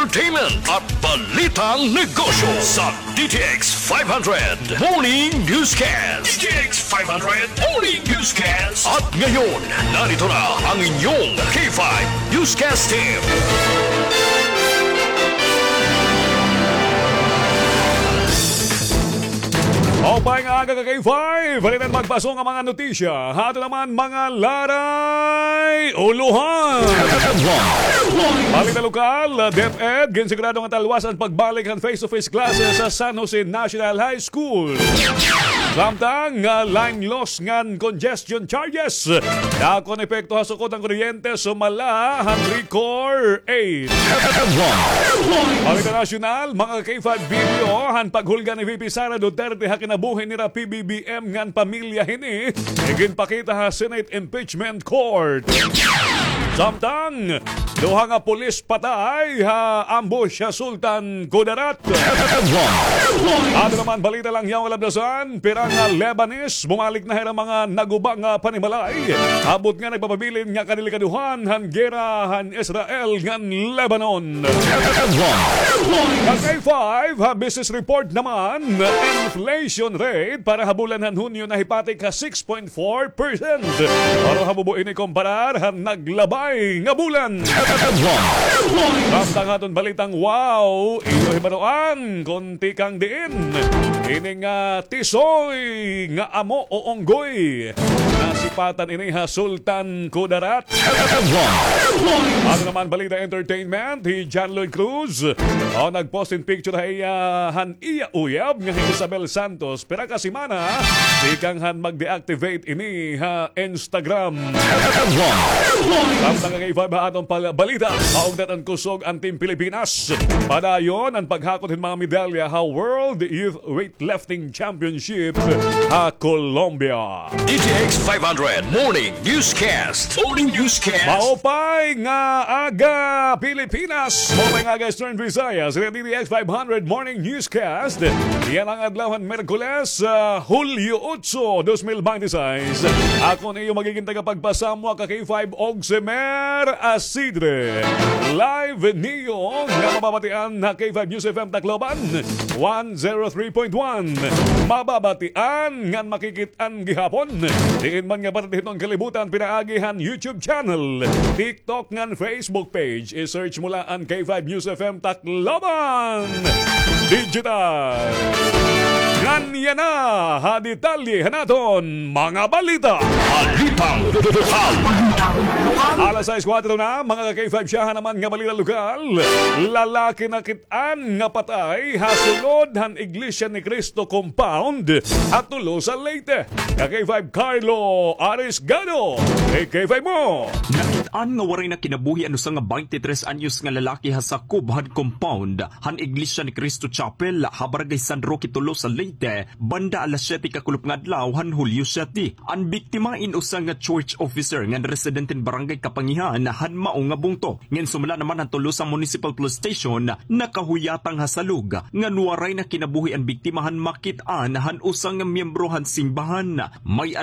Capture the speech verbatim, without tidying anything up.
Entertainment at Balitang Negosyo sa D T X five hundred Morning Newscast. D T X five hundred Morning Newscast. At ngayon, narito na ang inyong K five Newscast Team. Maupay nga aga ka K five. Halin an magpaso nga mga notisya ha aton naman mga laray ulohan. Balita lokal, DepEd ginsigurado nga talwas an pagbalik han face-to-face classes sa San Jose National High School. Samtang nga line loss ngan congestion charges, dakon epekto ha sukod han kuryente, sumala han Recor eight. Balita nasyonal, mga K five, video han paghulga ni V P Sara Duterte ha kinabuhi nira P B B M ngan pamilya hini iginpakita ha Senate Impeachment Court. Samtang duha nga pulis patay ha ambush ha Sultan Kudarat. Aton naman balita lang yaw nga labdasan, pira nga Lebanese bumalik na ha ira mga naguba nga panimalay. Abot nga nagpapabilin nga kadelikadohan han gera han Israel ngan Lebanon. Ka K five, ha business report naman, inflation rate para ha bulan han Hunyo nahipatik ha six point four percent. Pero habubo ini komparar han naglabay nga bulan. Samtang aton balitang wow, iyo hibaroan kon tikang diin ini nga tisoy nga amo o unggoy. Nasipatan ini ha Sultan Kudarat. Aton naman balita entertainment, hi John Lloyd Cruz, o, nagpost hin picture ha iya han iya uyab nga hi Isabel Santos. Pira ka semana tikang han mag-deactivate ini ha Instagram. Samtang nga K five ha aton pal-, balita, maugdat an kusog an Team Pilipinas. Padayon an paghakot hin mga medalya ha World Youth Weightlifting Championship ha Colombia. D T X five hundred Morning Newscast. Morning Newscast. Maupay nga aga, Pilipinas. Maupay nga aga, Eastern Visayas. Sa D T X five hundred Morning Newscast. Yana nga adlaw han Miyerkules, ah, Hulyo otso, dos mil binte seis. Ako an iyo magiging tagapagpasamwa, ka K five, Ogsemer Asidre. Live niyo nga mababatian ha K five News F M Tacloban, one zero three point one. Mababatian ngan makikit-an gihapon diin man nga parte hiton kalibutan pinaagi han YouTube channel, TikTok ngan Facebook page. I-search mo la an K five News F M Tacloban Digital. Ngan yana ha detalye han aton mga balita. Balitang lokal. Alas sais kuwatro na, mga ka K five, siyahan naman nga balita lokal. Lalaki nakit-an nga patay ha sulod han Iglesia ni Cristo compound ha Tolosa, Leyte. Ka K five, Carlo Arisgado, kay K five mo. Nakit-an nga waray na kinabuhi an usa nga baynte tres anyos nga lalaki ha sakob han compound han Iglesia ni Cristo Chapel ha Barangay San Roque, Tolosa, Leyte, banda alas siyete kakulop nga adlaw han Hulyo siyete. An biktima in usa nga church officer ngan residente hin Barangay Kapangihan han mao nga bungto. Ngan sumala naman han Tolosa Municipal Police Station, nakahuyatang ha salog ngan waray na kinabuhi an biktima han makit-an han usa nga miyembro han simbahan. May